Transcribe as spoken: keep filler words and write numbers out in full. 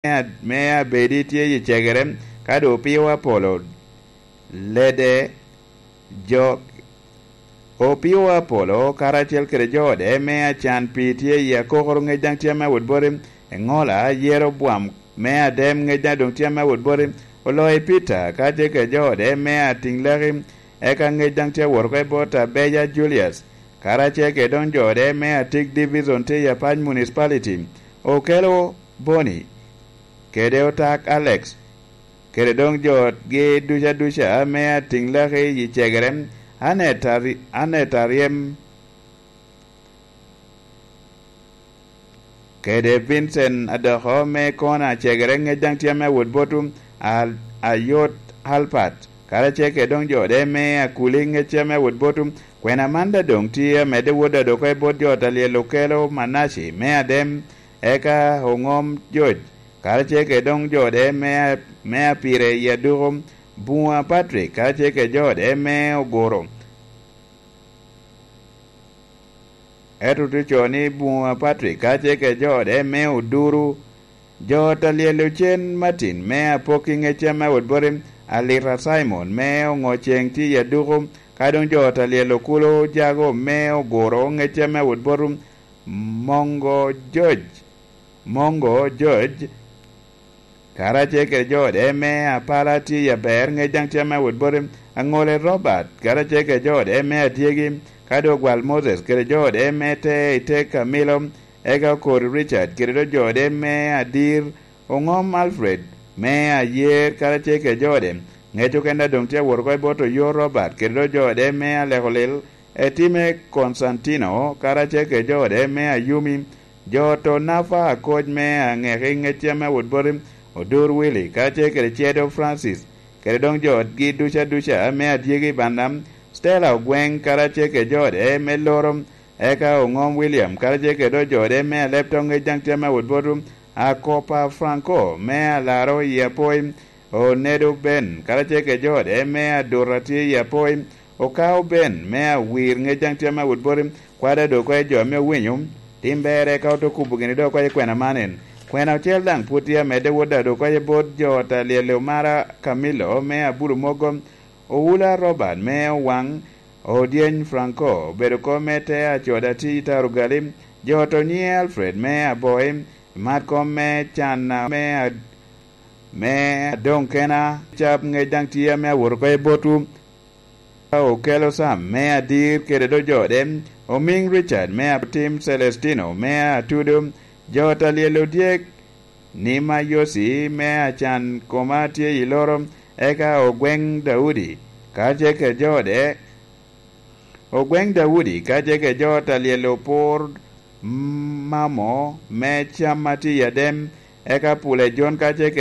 me abedi tye i cegere, ka doŋ opio Apolo, lede, jo, opio Apolo karacel kede jo ode me acan pii tye i akokoro ŋec daŋ tye ame awot boti, eŋola yero bwam me adem ŋec daŋ doŋ tye ame awot boti, oloyo Pita ka tye kede jo ode me atiŋ laki, eka ŋec daŋ tye awot oko i bot Abeja Julius, karacel kede doŋ jo ode me atik divison tye i Apac Municipality, okelo Boni, kede otak Alex, kede doŋ jo otgi duca duca ame atiŋ laki i cegere, Anet Ari-, Anet Aryem, kede Vincent Adoko me kona cegere ŋec daŋ tye ame awot botu, a-, Ayot Alpat, karacel kede doŋ jo ode me Akuli ŋec tye ame awot botu, kwena man daŋ doŋ tye amedde wot adoko i bot jo ot alyel okelo Manaci me adem, eka oŋom George, karacel kede doŋ jo ode me, me apire i aduko, Buŋa Patrick, karacel kede jo ode me oguro. Ento tye co ni Buŋa Patrick, karacel kede jo ode me oduru, jo ot alyel ocen Martin me apokki ŋec ame awot boti, Alita Simon me oŋo ceŋ tye i aduko, ka doŋ jo ot alyel okulo jago me oguro ŋec ame awot boti, Mongo George, Mongo George, karacel kede jo ode me apala tye i aber ŋec daŋ tye ame awot boti, Aŋole Robert, karacel kede jo ode me adyegi, ka doŋ Ogwal Moses kede jo ode me te i te Kamilo, eka Okori Richard kede doŋ jo ode me adir, Oŋom Alfred me ayer, karacel kede jo ode, ŋec okene doŋ tye awot oko i bot Oyo Robert kede doŋ jo ode me aleko lil, Etime Konstantino, karacel kede jo ode me Ayumi, jo ot Onafa Akoc me Aŋeki ŋec tye ame awot boti, Odur Willy, karacel kede Cedo Francis, kede doŋ jo otgi duca duca me adyegi i banda, Stella Ogweŋ, karacel kede jo ode me Loro, eka Oŋom William, karacel kede doŋ jo ode me Alepto ŋec daŋ tye ame awot botu, Akopa Franco me Alaro i Apoi, Onedo Ben, karacel kede jo ode me Aduta tye i Apoi, Okao Ben me Awir ŋec daŋ tye ame awot boti, kwada doŋ oko i jo ame owinyo, tim berre ka ote kubo gini doŋ oko i kwena man en. Kwena ocel daŋ pwod tye amedde wot daŋ doŋ oko i bot jo ot alyel Omara Camillo me Abulu Mogo, Oula Robert me Owaŋ, Odyeny Franco, obedo kom me te acoda tye i Tarugali, jo ot Onyiŋe Alfred me Aboi, mat kom me Canna me a-, me adoŋ kena, cap ŋec daŋ tye ame awot oko i botwu. Okelo Sam me Adir kede doŋ jo ode, Omiŋ Richard me Atim, Celestino me Atudo, jo ot alyel odyek, Nima Yosi me Acan koma tye i Loro, eka Ogweŋ Daudi, karacel kede jo ode, Ogweŋ Daudi, karacel kede jo ot alyel Opur Mamo me Cam a tye i Adem, eka Pule Jon, karacel